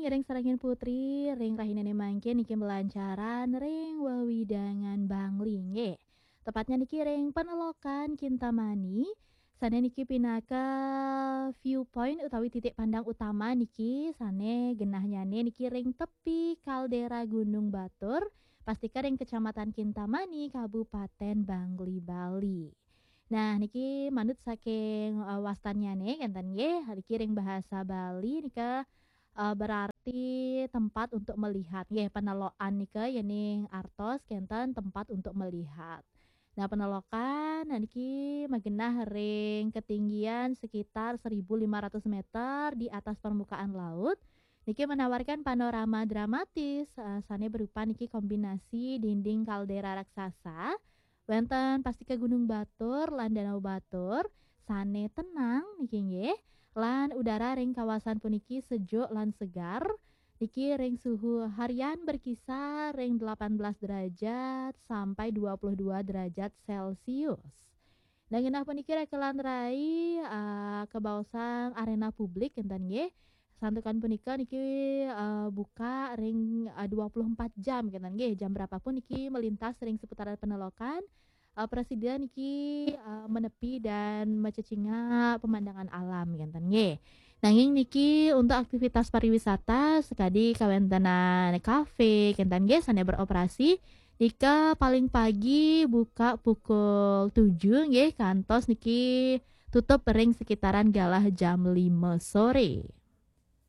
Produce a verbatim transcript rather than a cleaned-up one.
Ring sarengin putri, ring rahinane mangkin niki malancaran ring wewidangan Bangli nggih. Tepatnya niki ring Penelokan Kintamani. Sane niki pinaka viewpoint utawi titik pandang utama niki sane genahnyane niki ring tepi kaldera Gunung Batur, pastika ring Kecamatan Kintamani, Kabupaten Bangli, Bali. Nah, niki manut saking, eh, wastannyane kenten nggih, niki ring bahasa Bali nika, eh, berarti tempat untuk melihat nggih, penelokan nika yening artos kenten tempat untuk melihat. Nah, Penelokan, nah, niki magenah ring ketinggian sekitar seribu lima ratus meter di atas permukaan laut. Niki menawarkan panorama dramatis, eh, sane berupa niki kombinasi dinding kaldera raksasa, wenten pastika Gunung Batur lan Danau Batur, sane tenang niki nggih, lan udara ring kawasan puniki sejuk lan segar. Niki ring suhu harian berkisar ring delapan belas derajat sampai dua puluh dua derajat Celcius. Nah, genah puniki rekelan rai, eh, kabaosang arena publik kenten nggih. Santukan punika niki, eh, buka ring, eh, dua puluh empat jam kenten nggih. Jam berapapun niki melintas ring seputaran Penelokan, eh, prasida niki, eh, menepi dan macecinga pemandangan alam kenten nggih. Nanging niki untuk aktivitas pariwisata sakadi kawentenan kafe kenten nggih sane beroperasi nika paling pagi buka pukul tujuh nggih, kantos niki tutup ring sekitaran galah jam lima sore.